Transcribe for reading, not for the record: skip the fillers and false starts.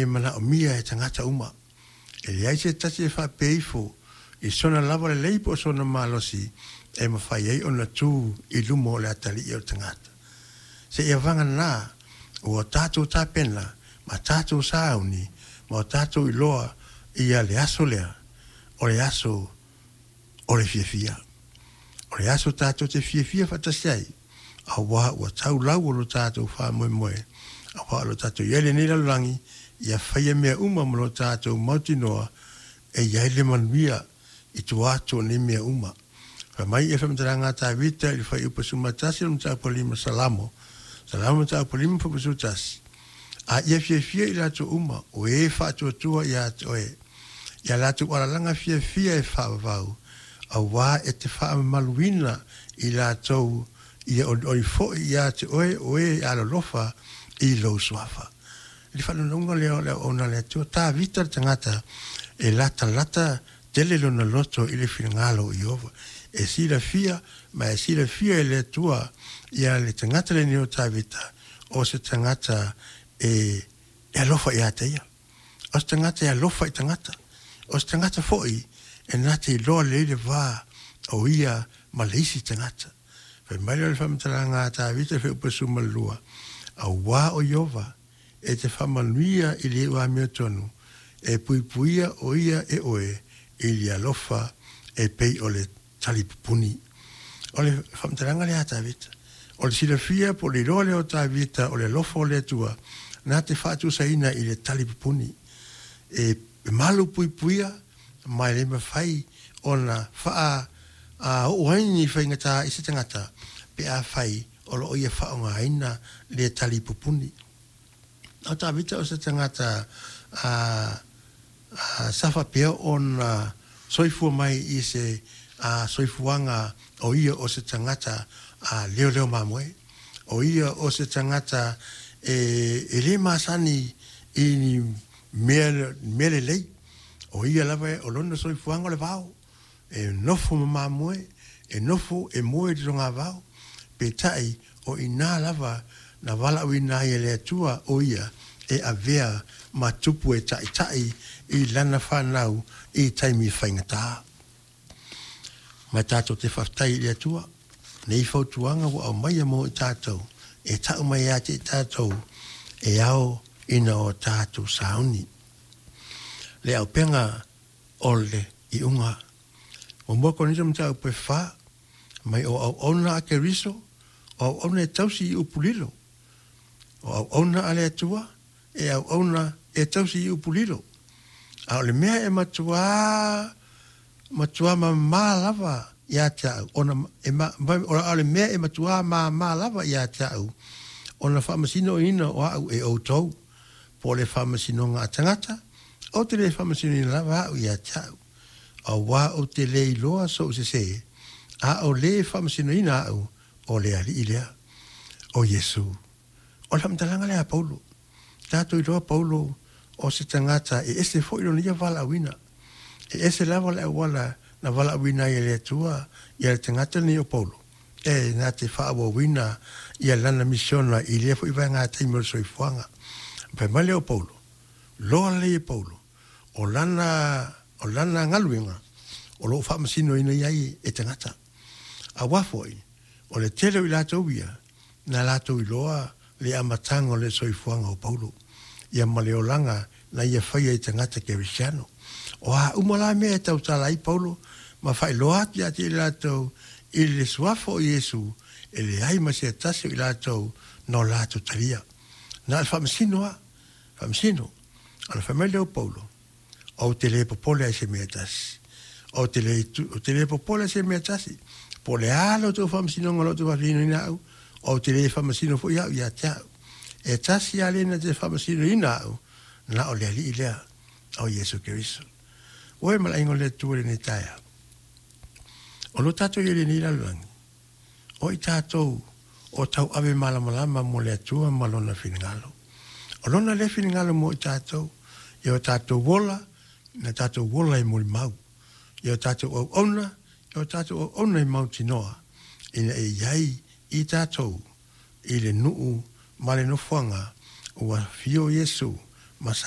e manaomia e tagata uma. E leai se tasi e faapea ifo i sona lava lelei po o sona malosi e mafai ai ona tu i luma o le atalii o le tagata. Seia vagana ua tatou tapena ma tatou sauni ma o tatou iloa ia le aso lea, o le aso o le fiafia. O le aso tatou te fiafia faatasi ai, auā ua tau lau o lo tatou faamoemoe, auā o lo o tatou i ai i lenei lalolagi, ia faia mea uma ma lo tatou mautinoa e i ai le manuia i tua atu o nei mea uma. Fai mai le faamatalaga a Tavita i le Fuaiupu 11 o le Mataupu 5 Salamo, Salamo Mataupu 5 Fuaiupu 11, A ia fiafia i latou uma o e faatuatua ia te oe, ia latou alalaga fiafia e faavavau, auā e te faamamaluina i latou ia olioli foi ia te oe o e alolofa i lou suafa. I le faanaunauna lea o le auauna a le Atua, Tavita le tagata e latalata tele lona loto i le finagalo o Ieova. E silafia ma e silafia e le Atua ia le tagata lenei o Tavita, o se tagata e alofa ia te ia. O se tagata e alofa i tagata. O se tagata foi e na te iloa lelei le va o ia ma le isi tagata. Fai mai lea o le faamatalaga a Tavita i le Fuaiupu 12, Auā o Ieova e te faamanuia i le amiotonu, e puipuia o ia e oe i le alofa e pei o le talipupuni. O le faamatalaga lea a Tavita. O le silafia po o le iloa lea o Tavita o le alofa o le Atua na te faatusaina i le talipupuni. E malu puipuia ma e le mafai ona faa oo ai ni faigata i se tagata pe afai o lo o ia faaaogaina lea talipupuni. O Tavita o se tagata a sa faapea ona soifua mai i se soifuaga o ia o se tagata leoleo mamoe. O ia o se tagata e le masani i ni mea lelei. O ia lava o lona soifuaga o le vao. E nofo ma mamoe, e nofo e moe i le togavao, peitai o i ina lava na valaauina ai e le Atua o ia e avea ma tupu e taitai i lana fanau i taimi faigata. Ma tatou te faafetai i le Atua nei fautuaga ua aumaia mo i tatou e tau mai ia te i tatou e ao ina o tatou sauni. Le auupega o le iuga. 1 Korinito mataupu e 4, mai o auauna a Keriso, o auauna e tausi i upu lilo. O auauna a le Atua, e auauna e tausi i upu lilo. A o le mea e matuā matuā mamā lava ia te au, ona e ma, a o le mea e matuā māmā lava ia te au, ona faamasinoina o au e outou, po o le faamasinoga a tagata, ou te le faamasinoina lava au ia te au. Auā ou te le iloa sou sesē, a o le faamasinoina au o le Alii lea, o Iesu. O le faamatalaga lea a Paulo. Tatou iloa Paulo o se tagata e ese foi lona ia valaauina. E ese lava le auala na valaauina ai e le Atua ia le tagata lenei o Paulo, e na te faaauauina ia lana misiona i lea foi vaega taimi o le soifuaga. Fai mai lea o Paulo, loa lelei e Paulo, o lana, o lana galuega o lo o faamasinoina ai e tagata. Auā foi, o le tele o i latou ia, na latou iloa le amataga o le soifuaga o Paulo, ia ma le olaga na ia faia i tagata kerisiano. O a uma la mea e tautala ai Paulo ma faailoa atu ia te i latou i le suafa o Iesu, e leai ma se tasi o i latou na o latou talia. Na o le faamasino lava, faamasino. Ona fai mai lea o Paulo, Ou te le popole ai i se mea e tasi. Ou te le, ou te le popole i se mea e tasi. Po o le a lo outou faamasinoga o lo outou faamasinoina au, ou te le faamasino foi au ia te au. E tasi lava le na te faamasinoina au, na o le Alii lea, o Iesu Keriso. Ua e malaga o le Atua i lenei taeao. O lo tatou i ai i lenei lalolagi, O i tatou o tauave malamalama mo le Atua ma Lona finagalo. O Lona lea finagalo mo i tatou, ia o tatou ola, na tatou ola i molimau. Ia o tatou auauna, ia o tatou auauna i mautinoa, ina ia i ai i tatou i le nuu ma le nofoaga ua afio Iesu ma sa.